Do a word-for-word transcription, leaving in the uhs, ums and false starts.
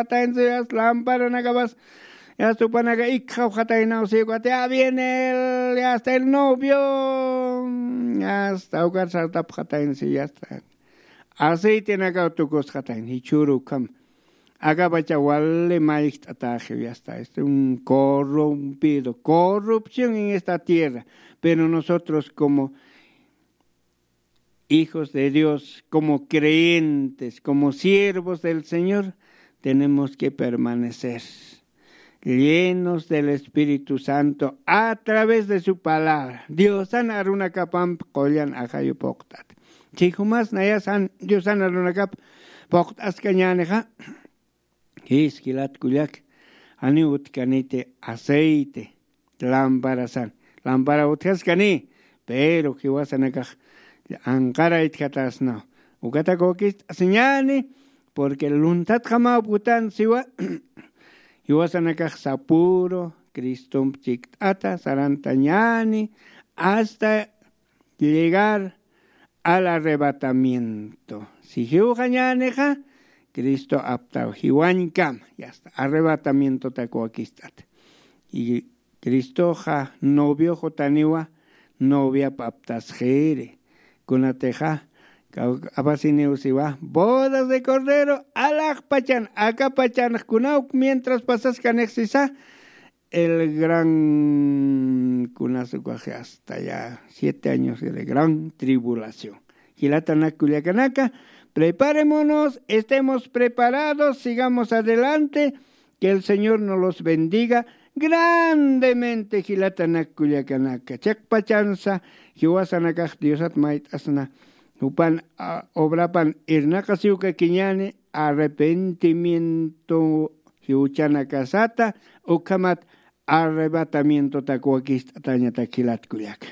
Jataynsi yasta lamparanakapas, yasta upanaka ikxapxataynaw sikwati, ya viene el, yasta el novio, yasta ukar sartapxatayna si yasta. Aceitenakaw tukusxatayna jichhüru ukham. Akapacha wali mayjt'ataxiw yasta, este un corrompido, corrupción en esta tierra. Pero nosotros como hijos de Dios, como creyentes, como siervos del Señor, tenemos que permanecer llenos del Espíritu Santo a través de su palabra. Diosan arunakapamp qullan ajayu puqt'at. Chijumas nayasan Diosan arunakap puqt'askañänixa. Jiskilat kullak, janiw utkaniti aceite lamparasan. Lampara utjaskani, pero jiwasanakax anqaraytjatasnaw. Ukatak wakist'asiñäni, porque lunthatxamaw putan siwa. Jiwasanakax sapüru Cristomp chikt'ata sarantañäni, hasta llegar al arrebatamiento. Si jiwxañänixa, Cristo aptaw jiwañkama, yasta arrebatamientotak wakist'ata. Y Cristoxa novioxutaniwa, noviap aptasxiri. Kunatixa apasiniw siwa bodas de cordero alaxpachan, akapachanx kunawk mientras pasaskanix sisa, el gran, kunas ukaxi hasta ya siete años de gran tribulación. Jilatanak kullakanaka, preparémonos, estemos preparados, sigamos adelante, que el Señor nos los bendiga grandemente. Jilatanak kullakanaka, chiqpachansa jiwasanakax Diosat mayt'asna, jupan obrapan irnaqasiwkakiñäni, arrepentimiento jiwchanakasata, ukhamat arrebatamientotak wakist'atañatak jilat kullaka.